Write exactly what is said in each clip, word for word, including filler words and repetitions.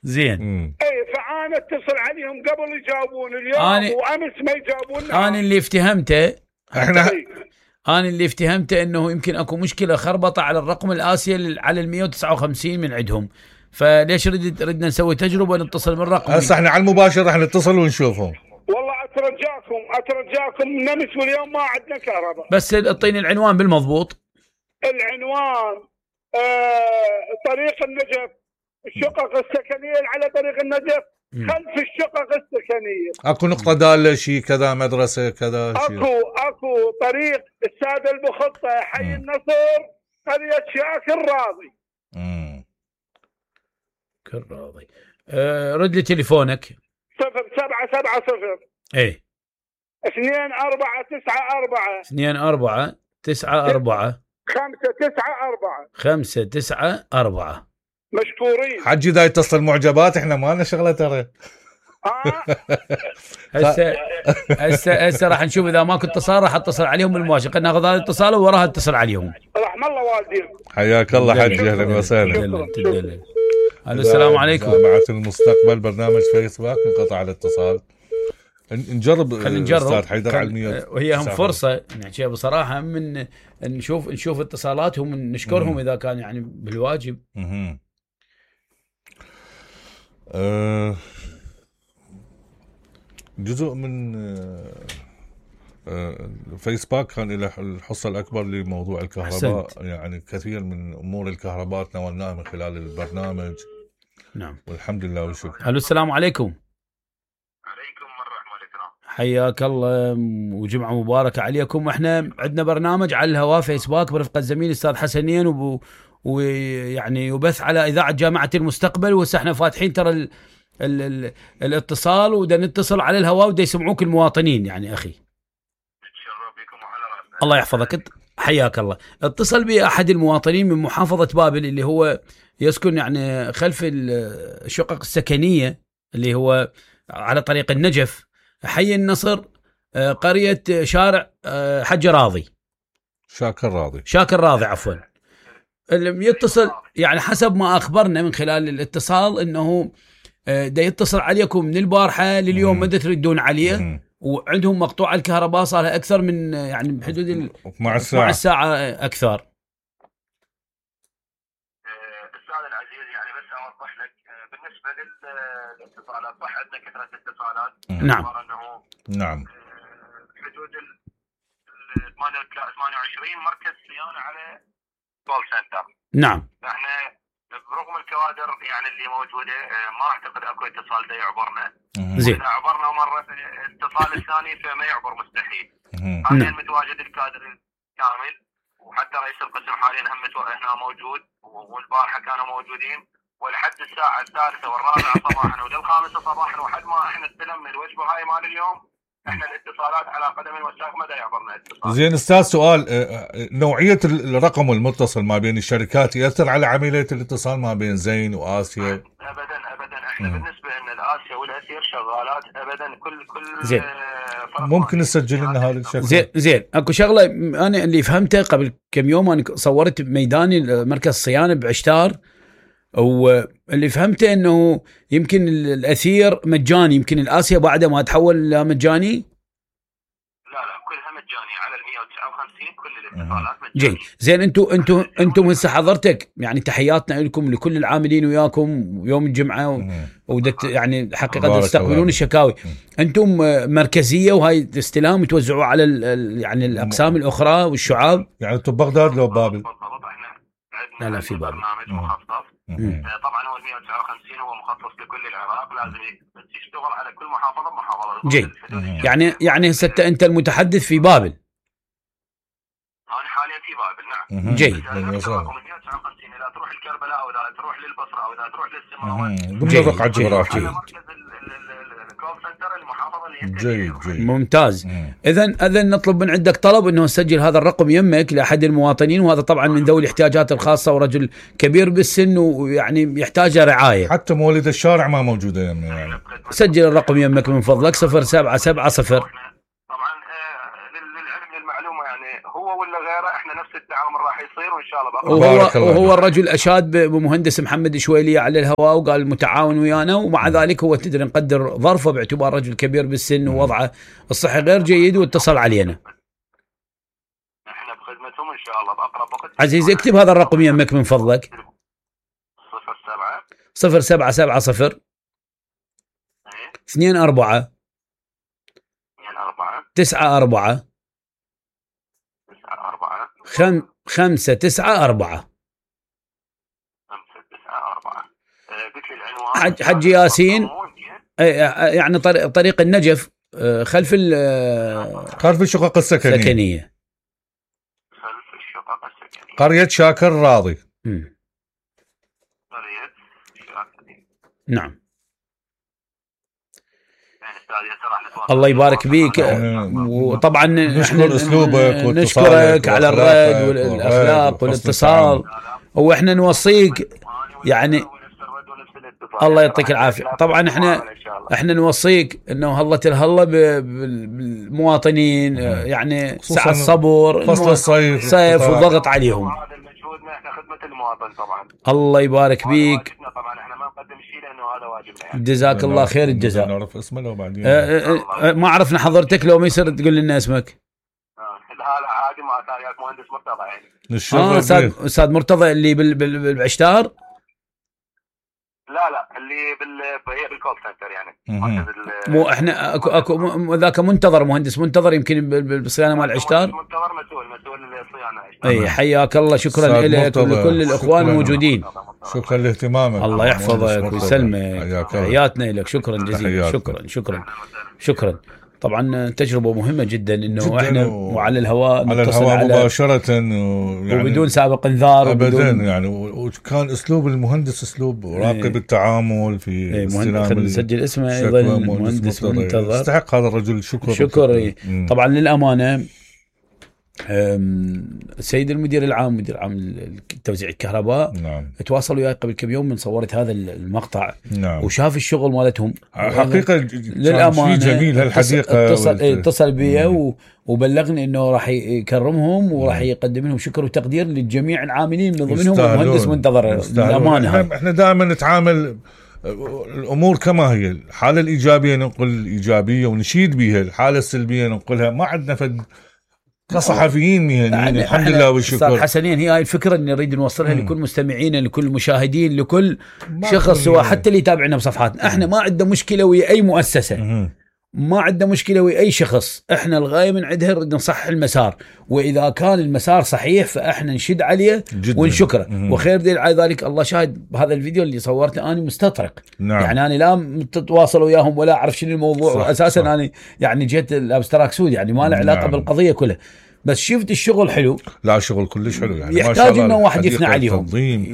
زين. اي فانا اتصل عليهم قبل يجاوبون اليوم أنا... وامس ما يجاوبون. انا اللي افتهمته احنا انا اللي افتهمته انه يمكن اكو مشكله خربطه على الرقم الاسيا على ال مئة وتسعة وخمسين من عندهم، فليش ردنا ردنا نسوي تجربه نتصل من الرقم. هسه احنا على المباشر راح نتصل ونشوفهم. والله اترجاكم اترجاكم نمس واليوم ما عندنا كهرباء. بس اعطيني العنوان بالمضبوط. العنوان آه طريق النجف، الشقق السكنيه على طريق النجف خلف الشقق السكنيه. اكو نقطه داله شيء كذا مدرسه كذا شيء. اكو اكو طريق الساده المخطه حي م. النصر قريه شاكر راضي. امم كالراضي. أه رد لي تليفونك. صفر سبعة سبعة صفر ايه اثنين أربعة تسعة أربعة اثنين أربعة تسعة أربعة خمسة تسعة أربعة خمسة تسعة أربعة. مشكورين. حجي دا يتصل معجبات، احنا ما لنا شغله ترى. هسه هسه هسه راح نشوف اذا ماكو اتصال راح اتصل عليهم بالمباشر، خلينا ناخذ هذا الاتصال ووراها اتصل عليهم. رحم الله والديكم. حياك الله حجي، اهلا وسهلا. الو السلام عليكم. جامعة المستقبل برنامج فيسبوك انقطع الاتصال. نجرب خلينا نجرب استاذ حيدر على المية وهي هم فرصه نحكي بصراحه من نشوف نشوف اتصالاتهم نشكرهم مم. اذا كان يعني بالواجب. اها أه جزء من أه فيسبوك كان له الحصه الاكبر لموضوع الكهرباء. حسنت. يعني كثير من امور الكهرباء تناولناها من خلال البرنامج. نعم والحمد لله والشكر. الو السلام عليكم. حياك الله وجمعة مباركة عليكم. احنا عندنا برنامج على الهواء فيسبوك برفقة زميلي الاستاذ حسنين وب... ويعني يبث على اذاعة جامعة المستقبل، وهسه احنا فاتحين ترى ال... ال... ال... الاتصال ودا نتصل على الهواء ودا يسمعوك المواطنين. يعني اخي الله يحفظك حياك الله. اتصل بي احد المواطنين من محافظة بابل اللي هو يسكن يعني خلف الشقق السكنية اللي هو على طريق النجف حي النصر قرية شارع حج راضي شاكر راضي شاكر راضي عفوا. اللي يتصل يعني حسب ما أخبرنا من خلال الاتصال إنه دا يتصل عليكم من البارحة لليوم ما تردون عليه مم. وعندهم مقطوع الكهرباء صار لها أكثر من يعني بحدود اثنعش ساعة. ساعة أكثر. أستاذ العزيز يعني بس أوضح لك بالنسبة للاتصالات صح عندنا كثرة اتصالات. نعم نعم حدود ال ثمانية وعشرين مركز صيانة على كول سنتر. نعم احنا برغم الكوادر يعني اللي موجودة ما اعتقد اكو اتصال دا يعبرنا. زين اذا عبرنا مرة الاتصال الثاني فما يعبر مستحيل. حاليا متواجد الكادر الكامل وحتى رئيس القسم حاليا هم هنا موجود والبارحة كانوا موجودين ولحد الساعة الثالثة والرابعة صباحا وللخامسة صباحا وحد ما احنا استلمنا الوجبة هاي مال اليوم احنا الاتصالات على قدم وساق ما دا يعبرنا اتصال. زين استاذ سؤال، نوعية الرقم المتصل ما بين الشركات يأثر على عملية الاتصال ما بين زين وآسيا؟ ابدا ابدا احنا م. بالنسبة ان الآسيا والأسير شغالات ابدا كل كل زين. ممكن نسجل لنا هذا الشكل. زين زين اكو شغلة انا اللي فهمته قبل كم يوم انا صورت ميداني مركز صيانة بعشتار واللي فهمته انه يمكن الاثير مجاني يمكن الآسيا بعده ما تحول لا مجاني. لا لا كلها مجاني على ال مئة وتسعة وخمسين كل الاتصالات مجاني. جيد زين انتم انتم انتم هسه حضرتك يعني تحياتنا لكم لكل العاملين وياكم يوم الجمعه ودت يعني حقيقه تستقبلون الشكاوي. انتم مركزيه وهاي استلام توزعوا على يعني الاقسام الاخرى والشعاب. يعني انتم بغداد لو بابل؟ لا لا في بابل برنامج مخصص. طبعا هو ال مئة وتسعة وخمسين هو مخصص لكل العراق لازم يشتغل على كل محافظه بمحافظه. جيد يعني يعني هسه انت المتحدث في بابل. انا حاليا في بابل نعم. جيد مئة وتسعة وخمسين اذا تروح الكربلاء او اذا تروح للبصره او اذا تروح للسماوات ضمن الرقعه الجغرافيه. جيد جيد ممتاز. اذا اذا نطلب من عندك طلب انه نسجل هذا الرقم يمك لاحد المواطنين، وهذا طبعا من ذوي الاحتياجات الخاصه ورجل كبير بالسن ويعني يحتاج رعايه. حتى مولد الشارع ما موجوده يمي يعني. سجل الرقم يمك من فضلك صفر سبعة سبعة صفر. طبعا للعلم للمعلومه يعني هو ولا غيره احنا نفس التعامل راح يصير وان شاء الله بقى. وهو, وهو الرجل اشاد بمهندس محمد شويليه على الهواء وقال متعاون ويانا، ومع ذلك هو تدري نقدر ظرفه باعتبار رجل كبير بالسن ووضعه الصحي غير جيد، واتصل علينا. احنا بخدمتهم ان شاء الله باقرب وقت. عزيزي اكتب هذا الرقم يمك من فضلك. صفر سبعة صفر سبعة سبعة صفر اثنين أربعة اثنين أربعة تسعة أربعة تسعة أربعة خم خمسة تسعة أربعة خمسة تسعة أربعة. قلت لي العنوان حج حج ياسين، يعني طريق طريق النجف خلف خلف الشقق السكنية. السكنية خلف الشقق السكنية، قرية شاكر راضي. م. قرية شاكر. نعم. يعني الله يبارك بيك، وطبعا نشكر اسلوبك نشكرك على الرد والاخلاق والاتصال، واحنا نوصيك يعني الله يعطيك العافيه. طبعا احنا احنا نوصيك انه هلة الهله بالمواطنين، يعني سعة الصبر، فصل الصيف صيف وضغط عليهم. هذا المجهودنا احنا خدمه المواطن طبعا. الله يبارك بيك. طبعا احنا ما نقدم شيء لانه هذا واجبنا يعني. جزاك الله خير الجزاء. نعرف اسمه لو بعدين. اه اه ما عرفنا حضرتك، لو ما يصير تقول لنا اسمك. هذا عادي مع تاريخ مهندس مرتضى يعني. اه استاذ استاذ مرتضى اللي بالعشتار. لا لا اللي بال هي بالكول سنتر يعني. مو احنا اكو اكو ذاك منتظر، مهندس منتظر يمكن بالصيانه مال العشتار. منتظر مسؤول مسؤول الصيانه. اي حياك الله، شكرا لك ولكل الاخوان الموجودين. شكرا لاهتمامك. الله يحفظك ويسلمك، حياتنا لك. شكرا جزيلا. شكرا شكرا شكرا. طبعا تجربة مهمة جدا انه جداً احنا وعلى الهواء على الهواء على مباشرة ويعني وبدون سابق انذار ابدا يعني. وكان اسلوب المهندس اسلوب راقب ايه التعامل في ايه استلام. نسجل اسمه ايضا المهندس منتظر، يستحق هذا الرجل شكر شكر ايه. طبعا للامانة السيد المدير العام مدير عام توزيع الكهرباء نعم. تواصل وياي قبل كم يوم من صورت هذا المقطع نعم. وشاف الشغل مالتهم حقيقة للأمانة. جميل هالحديقة. اتصل, اتصل بي وبلغني انه راح يكرمهم وراح يقدم لهم شكر وتقدير للجميع العاملين من ضمنهم المهندس منتظر. للأمانة احنا, احنا دائما نتعامل الامور كما هي، الحالة الايجابية ننقل ايجابية ونشيد بها، الحالة السلبية ننقلها. ما عندنا فد كصحفيين مهنيين الحمد لله والشكر. حسنين هي هاي الفكرة اللي نريد نوصلها مم. لكل مستمعين، لكل مشاهدين، لكل شخص سواء حتى اللي يتابعنا بصفحاتنا. احنا ما عندنا مشكلة ويا اي مؤسسة مم. ما عندنا مشكلة ويا اي شخص. احنا الغاية من عندها نريد نصحح المسار، واذا كان المسار صحيح فاحنا نشد عليه ونشكره. وخير دليل على ذلك الله شاهد بهذا الفيديو اللي صورته انا مستطرق. نعم. يعني انا لا متواصل وياهم ولا اعرف شنو الموضوع، صح اساسا صح. انا يعني جيت الابستراك سود يعني ما له علاقه نعم. بالقضيه كلها، بس شفت الشغل حلو. لا الشغل كلش حلو يعني. يحتاج انه واحد يثنى عليهم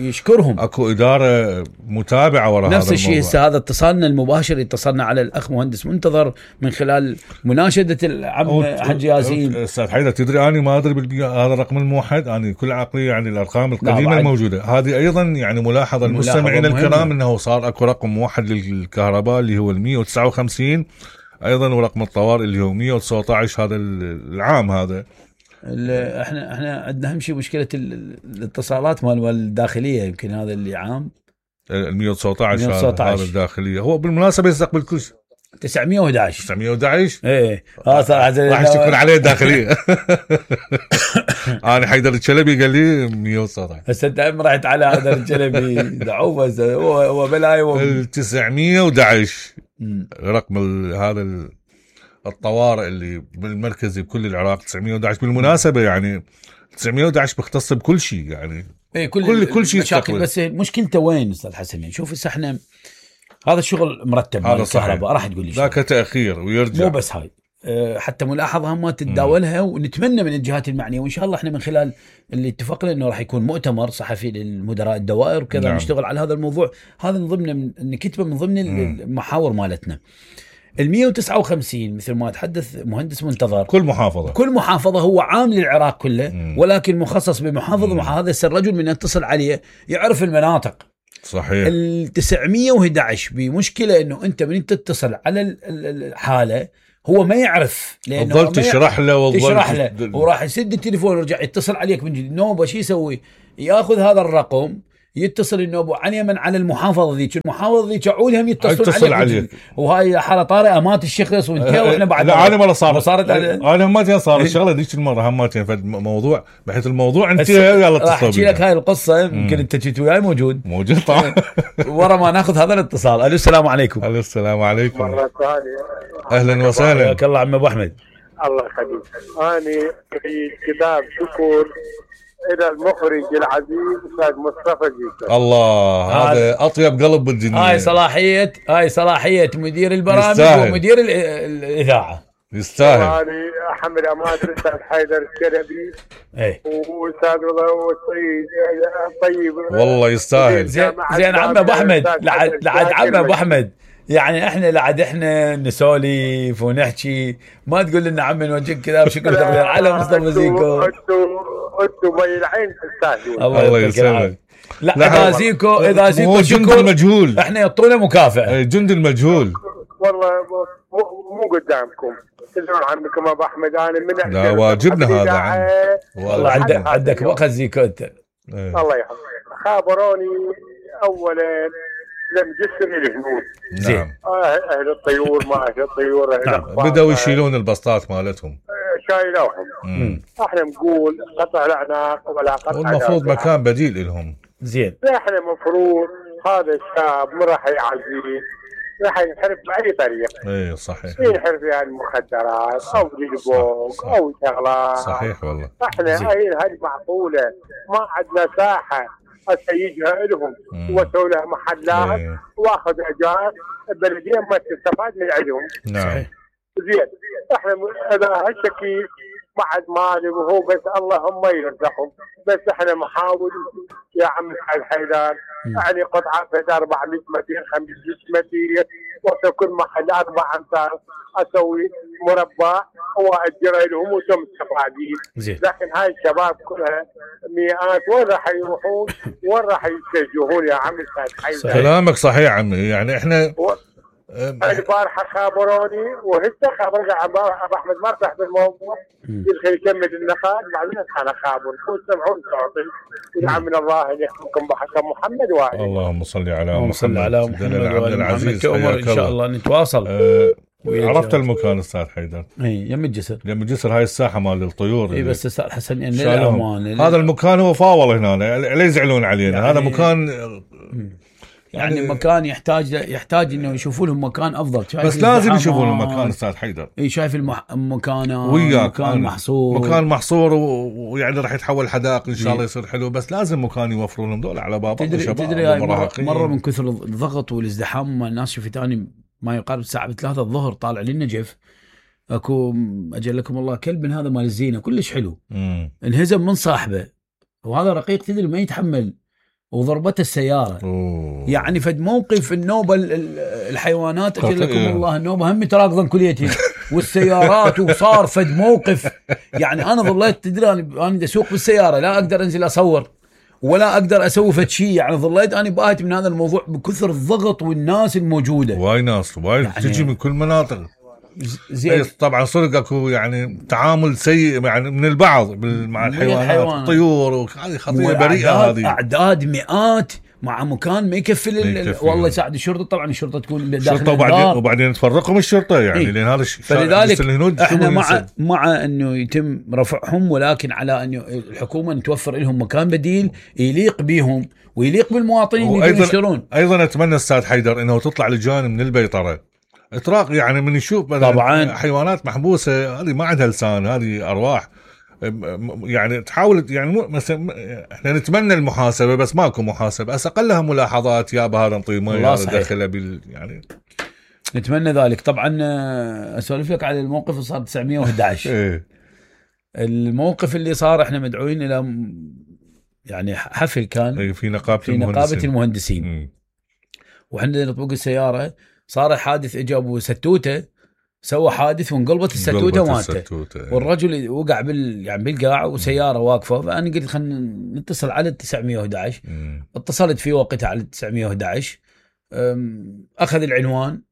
يشكرهم. اكو اداره متابعه وراء هذا نفس الشيء. هسه هذا اتصالنا المباشر اتصلنا على الاخ مهندس منتظر من خلال مناشده العم حج ياسين. استاذ حيدر تدري انا ما ادري هذا الرقم الموحد، انا كل عقلي يعني الارقام القديمه الموجوده هذه ايضا يعني ملاحظه المستمعين الكرام انه صار اكو رقم موحد للكهرباء اللي هو مئة وتسعة وخمسين ايضا، ورقم الطوارئ اللي هو مئة وتسعة عشر هذا العام. هذا احنا احنا عندنا اهم شيء مشكله الاتصالات مال الداخليه، يمكن هذا اللي عام ال مئة وتسعة عشر هذا الداخليه. هو بالمناسبه يستقبل كل شيء تسعمئة وأحد عشر تسعمئة وأحد عشر ايه اه صراحه راح يشكر عليه الداخليه. انا حيدر الشلبي قال لي مئة وتسعة عشر. هسه انت رحت على هذا الشلبي دعوه هو هو بلاي ال تسعمئة وأحد عشر رقم هذا الطوارئ اللي بالمركزي بكل العراق تسعمئة وأحد عشر. بالمناسبه يعني تسعمئة وأحد عشر بيختص بكل شيء يعني ايه كل كل, كل شيء مشاكل. بس مشكلته وين استاذ حسن؟ شوف هسه احنا هذا الشغل مرتب هذا الكهرباء راح تقول لي ذاك تاخير ويرجع. مو بس هاي أه حتى ملاحظه ما تتداولها. مم. ونتمنى من الجهات المعنيه وان شاء الله احنا من خلال اللي اتفقنا انه راح يكون مؤتمر صحفي للمدراء الدوائر وكذا. نعم. نشتغل على هذا الموضوع. هذا من ضمن نكتبه من ضمن مم. المحاور مالتنا. ال مئة وتسعة وخمسين مثل ما تحدث مهندس منتظر كل محافظة كل محافظة هو عام للعراق كله. مم. ولكن مخصص بمحافظة. مع هذا الرجل من يتصل عليه يعرف المناطق. صحيح. ال تسعمئة وأحد عشر بمشكلة انه انت من تتصل على الحالة هو ما يعرف لانه ظل تشرح له تشرح له وراح يسد التليفون ويرجع يتصل عليك من جديد. النوبه شو يسوي؟ ياخذ هذا الرقم يتصل النوبه عن يمن على المحافظه ذيك، المحافظه ذيك عودهم يتصلون عليك, عليك. وهاي حاله طارئه مات الشخص وانت واحنا بعد لا انا مره صارت صارت انا همتين صارت شغله ذيك المره همتين في موضوع بحيث الموضوع انتهى يلا اتصل. راح احكي لك هاي القصه يمكن انت جيت وياي موجود موجود طبعا ورا ما ناخذ هذا الاتصال. الو السلام عليكم. الو السلام عليكم مره ثانيه. اهلا وسهلا. حياك الله عم ابو احمد. الله يخليك. انا في كتاب شكر الى المخرج العزيز استاذ مصطفى جيسر. الله هذا اطيب قلب بالدنيا. هاي صلاحيه هاي صلاحيه مدير البرامج يستاهل. ومدير الاذاعه. يستاهل. انا احمد اماد الاستاذ حيدر الشلبي اي والاستاذ رضا والسيد طيب والله يستاهل. زين زين عم ابو احمد لعد لعد عم ابو احمد يعني احنا لعد احنا نسولف ونحكي ما تقول لنا عم نوجهك كذا بشكل تقدير على مصطفى زيكو. انتم بين العين تستاهلون. الله يسلمك. لا اذا زيكو اذا زيكو جند المجهول احنا يعطونا مكافاه. جند المجهول والله مو قدامكم تدرون عنكم ابو احمد انا من لا واجبنا هذا عن والله عندك عندك وقت زيكو انت. الله يحفظك. خابروني اولا لم جسر الهنود. زين اهل الطيور ما اهل الطيور نعم. بدأوا يشيلون البسطات مالتهم شايلوهم. احنا نقول قطع الاعناق ولا قطع والمفروض مكان بديل لهم. زين احنا مفروض هذا الشاب ما راح يعزيه راح ينحرف باي طريقه. اي صحيح. ينحرف يعني المخدرات او جلبوك او شغلات. صحيح والله. احنا هاي هاي معقوله ما عندنا ساحه اسيجها لهم واسوي لها محلات ايه. واخذ اجار البلديه ما تستفاد من عندهم. نعم. زين احنا اذا هالشكل بعد مالي وهو بس اللهم يرزقهم بس احنا نحاول يا عم سعد حيدر يعني قطعه في أربعمية متر خمسمية متر وفي كل محل اربع امتار اسوي مربع واجر لهم وتم مستفادين. لكن هاي الشباب كلها مئات وين راح يروحون وين راح يتجهون يا عم سعد حيدر؟ كلامك صحيح عمي يعني احنا و... البارحه خابروني وهسه خابرني ابو احمد ما ارتاح بالموضوع يدخل يكمل النقاط بعدين انا خابر وسمعون صوتي ونعم الله ان يحكمكم بحكم محمد وعلي. اللهم صل على محمد صل على محمد وعلى العزيز. ان شاء الله نتواصل. أه عرفت المكان استاذ حيدر؟ اي يم الجسر. يم الجسر هاي الساحه مال الطيور. اي بس استاذ حسن يعني للامان هذا المكان هو فاول هنا لا يزعلون علينا يعني هذا مكان يعني, يعني مكان يحتاج يحتاج انه يشوفوا لهم مكان افضل. بس لازم يشوفون المكان استاذ حيدر. اي شايف المكان مكان محصور مكان محصور ويعني راح يتحول حدائق ان شاء الله يصير حلو بس لازم مكان يوفرون لهم دول على بابا. تدري تدري مرة, مره من كثر الضغط والازدحام مال الناس شفت اني ما يقارب الساعه ثلاثة الظهر طالع لي النجف اكو اجل لكم الله كلب من هذا مال الزينه كلش حلو مم. انهزم من صاحبه وهذا رقيق تدري ما يتحمل وضربته السياره. أوه. يعني فد موقف النوبه الحيوانات اجل لكم الله النوبه هم تراكضن كليتين والسيارات وصار فد موقف يعني انا ظليت تدري انا اسوق بالسياره لا اقدر انزل اصور ولا اقدر اسوي فد شيء يعني ظليت انا باهت من هذا الموضوع بكثر الضغط والناس الموجوده. واي ناس واي يعني تجي من كل مناطق. زين طبعا صدق اكو يعني تعامل سيء يعني من البعض مع الحيوانات الطيور وهذه خطيه بريئه هذه اعداد مئات مع مكان ما يكفي والله يساعد الشرطه. طبعا الشرطه تكون داخل الشرطه وبعدين وبعدين تفرقهم الشرطه يعني لان هذا الشيء فلذلك احنا مع مع انه يتم رفعهم ولكن على انه الحكومه توفر لهم مكان بديل يليق بهم ويليق بالمواطنين اللي يشترون. ايضا اتمنى استاذ حيدر انه تطلع لجان من البيطره اطراق يعني من يشوف طبعا حيوانات محبوسه هذه ما عندها لسان هذه ارواح يعني تحاول يعني مثلا احنا نتمنى المحاسبه بس ماكو محاسبه بس اقلها ملاحظات يا هذا نطي ميه داخله بال يعني نتمنى ذلك. طبعا اسولف لك على الموقف اللي صار تسعمية وأحد عشر. ايه الموقف اللي صار احنا مدعوين الى يعني حفل كان ايه في نقابه في نقابه المهندسين, المهندسين. وحنا نطبق السياره صار حادث اجابه ستوته سوى حادث وانقلبت الستوته ومات والرجل وقع بال يعني بالقاع وسياره واقفه. فانا قلت خلينا نتصل على تسعمية وأحد عشر. اتصلت في وقتها على تسعمية وأحد عشر اخذ العنوان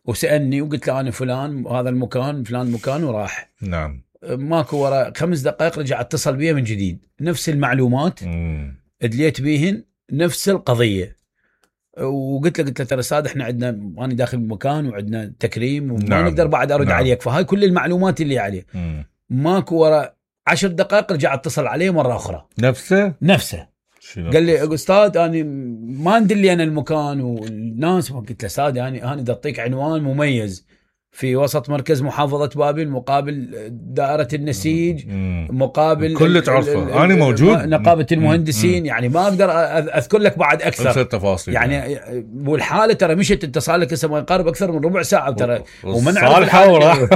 وسالني وقلت له انا فلان هذا المكان فلان مكان وراح. نعم. ماكو ورا خمس دقائق رجع اتصل بي من جديد نفس المعلومات مم. ادليت بيهن نفس القضيه. وقلت له قلت له ترى استاذ احنا عندنا انا داخل المكان وعندنا تكريم وما نعم. نقدر بعد ارد نعم. عليك فهاي كل المعلومات اللي عليه. مم. ماكو ورا عشر دقائق رجع اتصل عليه مره اخرى نفسه نفسه قال لي استاذ انا ما ندلي انا المكان والناس. قلت له استاذ يعني انا بدي اعطيك عنوان مميز في وسط مركز محافظة بابل مقابل دائرة النسيج مم. مقابل كل تعرفه انا موجود نقابة المهندسين. مم. يعني ما اقدر اذكر لك بعد اكثر التفاصيل يعني. والحالة ترى مشت اتصال لك هسه ما يقارب اكثر من ربع ساعة ترى ومن عارف.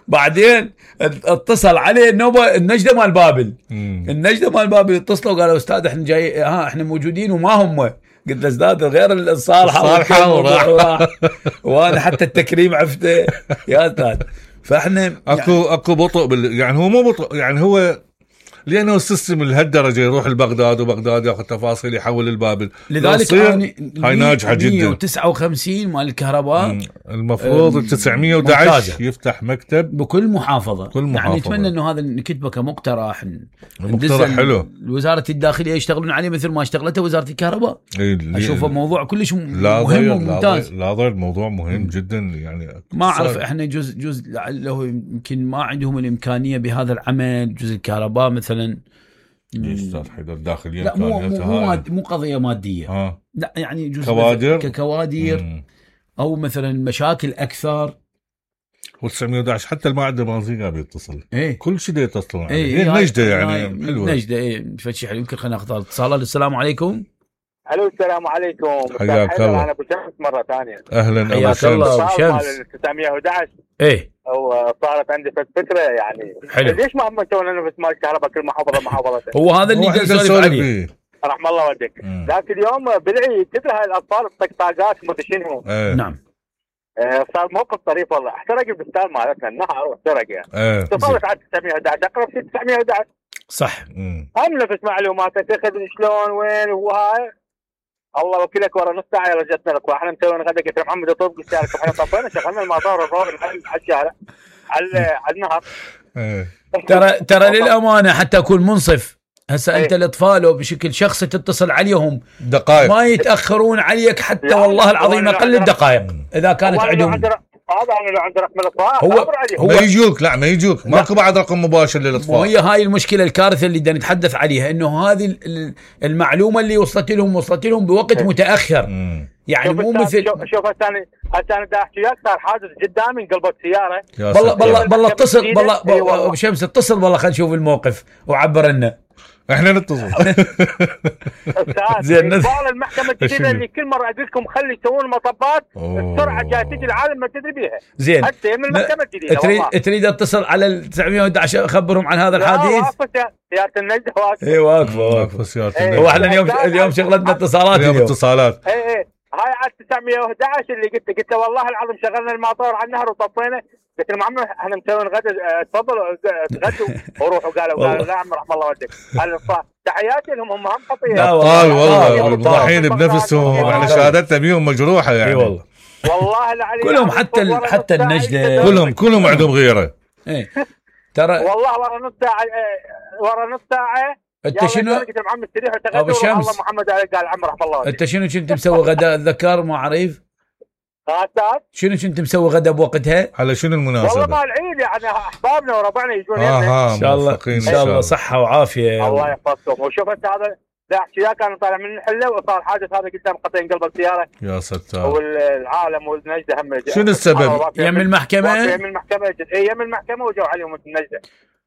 بعدين اتصل عليه النوبة النجدة مال بابل. النجدة مال بابل اتصلوا قالوا استاذ احنا جاي ها احنا موجودين وما هم. قلت له استاذ غير الصالحة الصالحة وانا حتى التكريم عفته يا استاذ. فاحنا اكو يعني اكو بطء بال... يعني هو مو بطء يعني هو لانه السيستم لهالدرجه يروح لبغداد وبغداد ياخذ تفاصيل يحول البابل. لذلك هاي ناجحه جدا. مية وتسعة وخمسين مال الكهرباء المفروض تسعمية وأحد عشر يفتح مكتب بكل محافظه. كل محافظة. يعني نتمنى انه هذا نكتبه كمقترح مقترح حلو وزاره الداخليه يشتغلون عليه مثل ما اشتغلته وزاره الكهرباء. اشوفه موضوع كلش مهم وممتاز. لا ضير الموضوع مهم جدا يعني. ما اعرف احنا جزء جزء لعله يمكن ما عندهم الامكانيه بهذا العمل جزء الكهرباء مثلا. استاذ حيدر داخليا لا مو مو, ماد مو قضيه ماديه. ها. لا يعني جزء كوادر ككوادر مم. او مثلا مشاكل اكثر. وتسعمية وأحد عشر حتى المعدة المنزيقة بيتصل. ايه. كل شيء ده يتصلون عليه. ايه. ايه نجدة يعني حلوة. نجدة ايه فتشي حلو. يمكن خلينا ناخذ اتصال. السلام عليكم. الو السلام عليكم. حياك الله. انا ابو شمس مرة ثانية. اهلا ابو حياك الله ابو شمس. تسعمية وأحد عشر ايه. وصارت عندي فترة يعني. حلو. ليش ما هم يسوون لنا مال الكهرباء كل محافظة محافظة؟ هو هذا اللي نسولف عليه. رحم الله والديك. ذاك اليوم بالعيد تدري هاي الاطفال الطقطاقات مدري شنو. ايه. نعم. صار موقف طريف والله. احترق البستان مالتنا النهر واحترق يعني. ايه. تفاوت على تسعمية وأحد عشر اقرب شيء تسعمية وأحد عشر. صح. هم نفس معلوماتك تاخذ شلون وين وهاي. الله وكيلك ورا نص ساعه رجعتنا لك واحنا مسويين غدا. قلت محمد اطلب قلت لك احنا طفينا شغلنا المطار الروح على الشارع على على النهر. ترى ترى للامانه حتى اكون منصف هسه انت الاطفال بشكل شخصي تتصل عليهم دقائق ما يتاخرون عليك حتى والله العظيم اقل الدقائق اذا كانت عندهم. هذا انا لو عندي رقم الاطفال هو, هو ما يجوك. لا ما يجوك ماكو بعد رقم مباشر للاطفال. وهي هاي المشكله الكارثه اللي بدنا نتحدث عليها انه هذه المعلومه اللي وصلت لهم وصلت لهم بوقت متاخر. مم. يعني مو مثل شوف هسه انا هسه انا دا احكي وياك صار حادث قدامي انقلبت سياره. والله والله والله اتصل والله ابو شمس اتصل والله خلينا نشوف الموقف وعبر لنا. احنا نتصل. زين المحكمه الجديده اللي كل مره اقول لكم خلي يسوون مطبات السرعه جايه تجي العالم ما تدري بيها. زين حتى من المحكمه الجديده تريد تريد اتصل على ال تسعمية وأحد عشر اخبرهم عن هذا الحديث. واقفه سياره النجده واقفه. اي واقفه واقفه سياره النجده. هو احنا اليوم اليوم شغلتنا اتصالات اليوم اتصالات. اي اي هاي على تسعمية وأحد عشر اللي قلت قلت والله العظيم شغلنا المطار على النهر وطفينا. قلت لهم عمو احنا مسوين غدا تفضلوا تغدوا وروحوا. قالوا قالوا لا عم رحم الله والديك. تحياتي لهم هم هم خطيه. ابطال والله الضحين بنفسهم احنا شهادتنا بيهم مجروحه يعني. اي والله والله العلي كلهم حتى حتى النجده كلهم كلهم عندهم غيره. ايه ترى والله ورا نص ساعه ورا نص ساعه انت شنو قلت محمد استريح ابو شمس الله محمد قال عم رحم الله. انت شنو كنت مسوي غداء الذكر ما عريف؟ غداء شنو كنت مسوي غدا بوقتها؟ على شنو المناسبه؟ والله مال العيد يعني احبابنا وربعنا يجون آه ان شاء الله ان شاء الله صحه وعافيه. الله يحفظكم. وشوف انت هذا لا احكي وياك انا طالع من الحله وصار حادث هذا قدام قطعين قلب السياره. يا ستار. والعالم والنجده هم شنو السبب؟ يم المحكمه؟ يم المحكمه اي يم المحكمه وجوا عليهم النجده.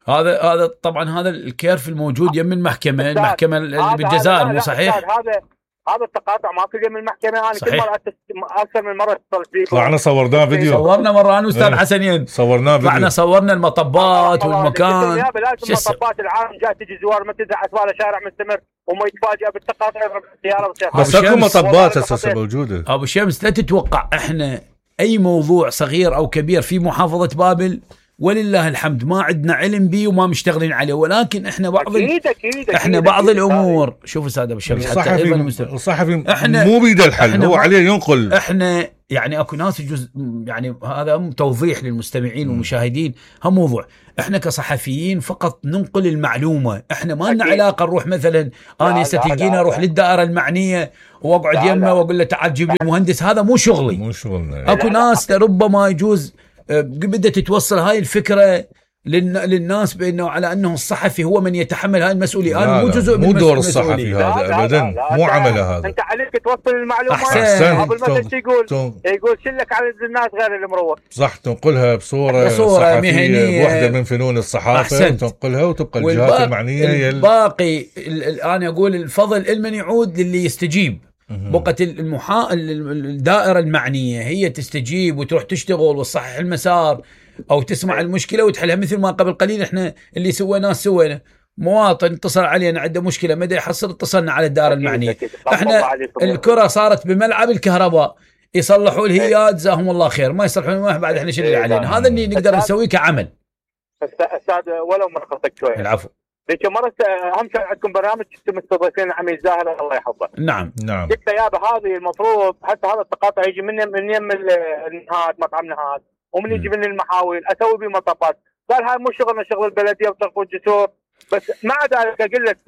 هذا هذا طبعا هذا الكيرف الموجود يم المحكمه المحكمه اللي بالجزائر مو صحيح؟ هذا هذا التقاطع ما في يم المحكمه. انا كل مره اكثر من مره اتصلت فيكم. طلعنا صورناه فيديو. صورنا مره انا واستاذ حسنين صورناه فيديو. طلعنا صورنا المطبات والمكان. لازم مطبات العالم جاي تجي زوار ما تزعل اسوار شارع مستمر وما يتفاجئ بالتقاطع يضرب السياره. بس اكو مطبات اساسا موجوده. ابو شمس لا تتوقع احنا اي موضوع صغير او كبير في محافظه بابل ولله الحمد ما عندنا علم به وما مشتغلين عليه. ولكن احنا بعض أكيد أكيد احنا أكيد بعض أكيد الامور شوف استاذ ابو شمس حتى الصحفي الصحفي مو بيده الحل هو عليه ينقل. احنا يعني اكو ناس يجوز يعني هذا هم توضيح للمستمعين والمشاهدين. هم موضوع احنا كصحفيين فقط ننقل المعلومه، احنا ما لنا علاقه نروح مثلا انا ستجينا اروح للدائره المعنيه واقعد يمه واقول له تعال جيب لي مهندس، هذا مو شغلي، مو شغلنا. اكو ناس ربما يجوز بدها تتوصل هاي الفكره للناس بانه على انه الصحفي هو من يتحمل هاي المسؤوليه. انا مو جزء مو دور الصحفي هذا ابدا، مو عمله هذا. انت عليك توصل المعلومات أحسن. قبل ما تقول يقول شلك على الناس غير المروه، صح، تنقلها بصوره, بصورة مهنيه بوحده من فنون الصحافه، تنقلها وتبقى الجهات المعنيه هي الباقي. انا اقول الفضل لمن يعود للي يستجيب. بقت المحا... الدائره المعنيه هي تستجيب وتروح تشتغل وتصحح المسار او تسمع المشكله وتحلها، مثل ما قبل قليل احنا اللي سويناه سوينا. مواطن اتصل علينا عنده مشكله مدى يحصل، اتصلنا على الدائره المعنيه. احنا الكره صارت بملعب الكهرباء، يصلحوا الهياد جزاهم الله خير، ما يصلحون ما بعد احنا شنو اللي علينا. هذا اللي نقدر نسويه كعمل. استاذ ولو مرخصك شويه. العفو. ذيك مرة اهم شيء عندكم برنامج كنتم مستضيفين عميد زاهر الله يحفظه. نعم نعم. قلت يا هذه المفروض حتى هذا التقاطع يجي من من يم النهاد مطعم نهاد ومن يجي من المحاول اسوي به مطبات. قال هاي مو شغلنا، شغل البلديه وترفع الجسور. بس مع ذلك اقول لك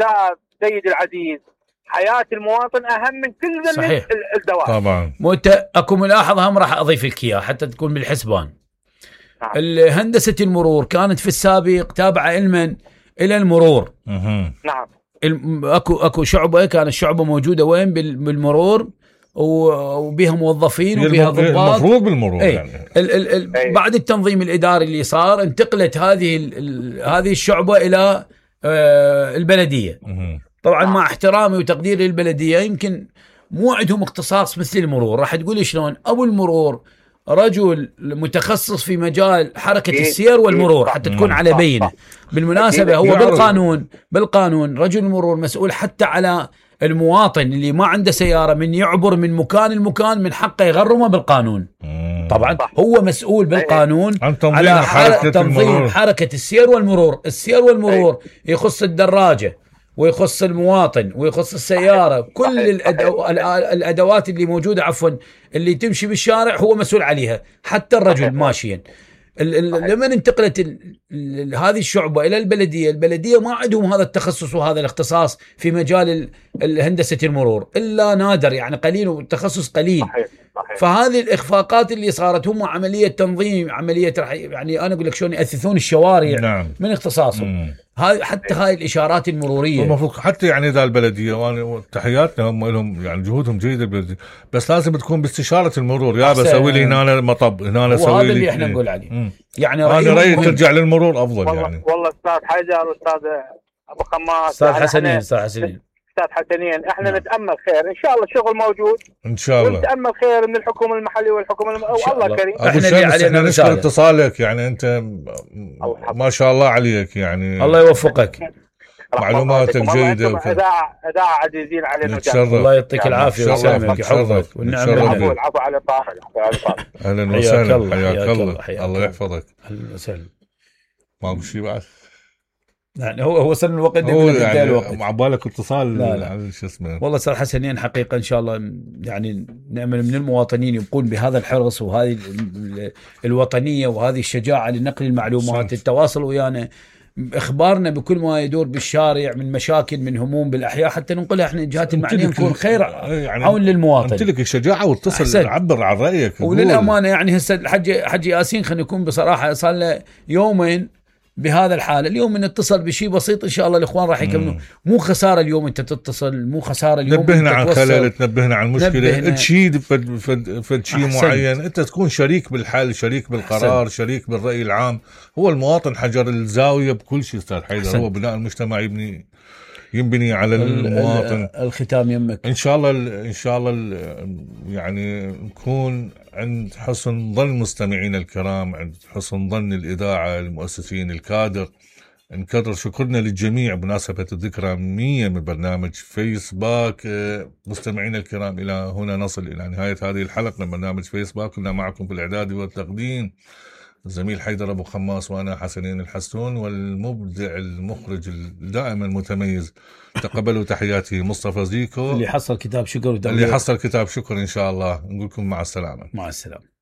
سيد العزيز حياه المواطن اهم من كل صحيح. الدوائر. طبعا. مت اكو ملاحظه هم راح اضيف لك اياها حتى تكون بالحسبان. نعم. هندسه المرور كانت في السابق تابعه علما الى المرور. اها نعم. اكو اكو شعبه، كانت الشعبه موجوده وين بالمرور وبها موظفين وبها ضباط المفروض بالمرور. ايه. يعني ال ال ال بعد التنظيم الاداري اللي صار انتقلت هذه ال هذه الشعبه الى آه البلديه. مه. طبعا مع احترامي وتقديري للبلديه يمكن مو عندهم اختصاص مثل المرور. راح تقولي شلون؟ ابو المرور رجل متخصص في مجال حركة السير والمرور حتى تكون على بينه. بالمناسبة هو بالقانون بالقانون رجل المرور مسؤول حتى على المواطن اللي ما عنده سيارة من يعبر من مكان المكان من حقه يغرمه بالقانون. طبعا هو مسؤول بالقانون على حركة تنظيم حركة السير والمرور. السير والمرور يخص الدراجة ويخص المواطن ويخص السيارة، كل الأدو... الأدوات اللي موجودة عفوا اللي تمشي بالشارع هو مسؤول عليها، حتى الرجل ماشيا. لما انتقلت ال... ال... هذه الشعبة إلى البلدية، البلدية ما عندهم هذا التخصص وهذا الاختصاص في مجال هندسة المرور إلا نادر، يعني قليل والتخصص قليل. صحيح. صحيح. فهذه الإخفاقات اللي صارت هم عملية تنظيم، عملية يعني أنا أقول لك شلون يأثثون الشوارع. نعم. من اختصاصهم. هاي حتى هاي الإشارات المرورية المفروض حتى يعني ذا البلدية وانا تحياتنا هم لهم يعني جهودهم جيدة البلدية، بس لازم تكون باستشارة المرور. يا بسوي لي هنا مطب هنا اسوي لي، وهذا اللي احنا نقول عليه. مم. يعني انا رأيي ترجع للمرور افضل. والله يعني والله استاذ حجر واستاذ ابو خماس استاذ حسنين استاذ حسنين استاذ حسنين احنا نعم. نتامل خير ان شاء الله، الشغل موجود ان شاء الله، ونتامل خير من الحكومه المحليه والحكومه الم... والله كريم. احنا اللي علينا نشكر اتصالك، يعني انت ما شاء الله عليك، يعني الله يوفقك، معلوماتك جيده وكذا. اذاعه اذاعه عزيزين علينا. الله يعطيك العافيه ويسلمك يحفظك والنعم بالله. العفو العفو على طارق. اهلا وسهلا، حياك الله، الله يحفظك. اهلا وسهلا. ما ابو شيء بعد يعني هو هو وصل الوقت هو يعني الوقت مع بالك اتصال على شو اسمه. والله استاذ حسنين حقيقه ان شاء الله يعني نأمل من المواطنين يبقون بهذا الحرص وهذه الوطنيه وهذه الشجاعه لنقل المعلومات، التواصل ويانا، اخبارنا بكل ما يدور بالشارع من مشاكل من هموم بالاحياء حتى ننقلها احنا الجهات المعنيه نكون خير يعني عون للمواطن. انت لك الشجاعه واتصل عبر عن رايك. وللامانه يعني هسه الحج حج ياسين خلينا نكون بصراحه صار له يومين بهذا الحال، اليوم من اتصل بشيء بسيط ان شاء الله الاخوان راح يكملوا. مو خساره اليوم انت تتصل، مو خساره اليوم نبهنا عن خلل، تنبهنا عن مشكله، تشيد فد فد فد شيء معين، انت تكون شريك بالحل، شريك بالقرار، أحسن. شريك بالراي العام. هو المواطن حجر الزاويه بكل شيء استاذ حيدر. هو بناء المجتمع يبني ينبني على المواطن. الختام يمك ان شاء الله ان شاء الله يعني نكون عند حسن ظن مستمعينا الكرام، عند حسن ظن الاذاعه، المؤسسين، الكادر. نكرر شكرنا للجميع بمناسبه الذكرى مية من برنامج فيس باك. مستمعينا الكرام، الى هنا نصل الى نهايه هذه الحلقه من برنامج فيس باك. كنا معكم في الاعداد والتقديم الزميل حيدر ابو خماس وانا حسنين الحسون، والمبدع المخرج دائما متميز تقبلوا تحياتي مصطفى زيكو اللي حصل كتاب شكر اللي حصل كتاب شكر. ان شاء الله نقول لكم مع السلامه. مع السلامه.